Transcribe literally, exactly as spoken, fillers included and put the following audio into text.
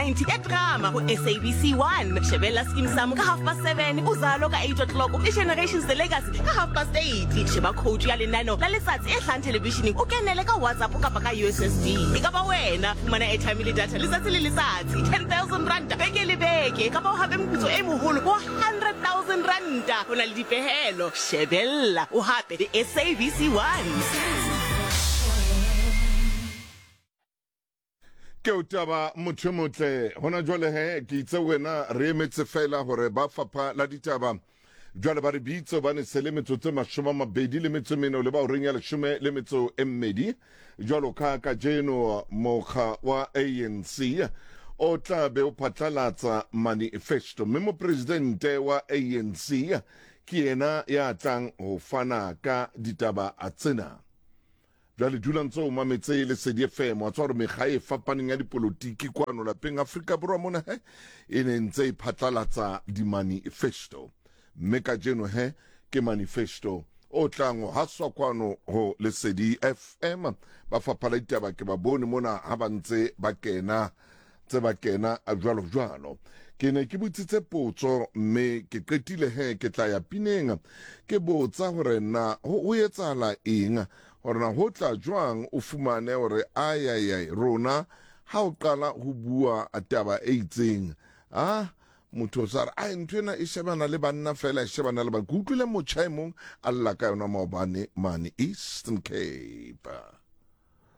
ninety ya drama ho S A B C one. Shebella Skeem Saam ka half past seven, Uzalo ka eight o'clock le Generations The Legacy ka half past eight. Sheba coach ya lenaneo la letsatsi e hlahang televisheneng, o kenele ka WhatsApp kapa ka U S S D. E ka ba wena, fumana airtime le data letsatsi le letsatsi, ten thousand rand beke le beke, kapa o hape moputso e moholo wa hundred thousand rand. Ho na le dipehelo. Shebella o hape le S A B C one. Ke o taba motho motle hona jwale he ke itse wena re emetse fela hore ba fapha la ditaba jwale ba re bitse hobane se le metsotso e mashome a mabedi le metso e mene le ba horeng ya leshome le metso e mmedi. Jwalo ka kajeno mokga wa A N C o tla be o phatlalatsa manifesto, mme mopresidente wa A N C ke yena ya tlang ho fana ka ditaba tsena. Jwale dula ntse o mametse Lesedi F M, wa tswa hore mekga e fapaneng ya dipolotiki kwano lapeng Afrika Borwa mona he e ne ntse e phatlalatsa di-manifesto, mme kajeno he ke manifesto o tlang ho haswa kwano ho Lesedi F M. Ba fapha la ditaba ke ba bone mona ha ba ntse ba kena, tse ba kena jwalo jwalo. Ke ne ke botsitse potso mme ke qetile he ke tla ya pineng, ke botsa hore na ho, ho etsahala eng, hore na ho tla jwang o fumane hore ai, ai, ai, rona ha o qala ho bua taba e itseng, ah, motho o sa re, ai, ntho ena e shebana le banna fela, e shebana le banna. Ke utlwile motjha e mong a lla ka yona maobane mane Eastern Cape.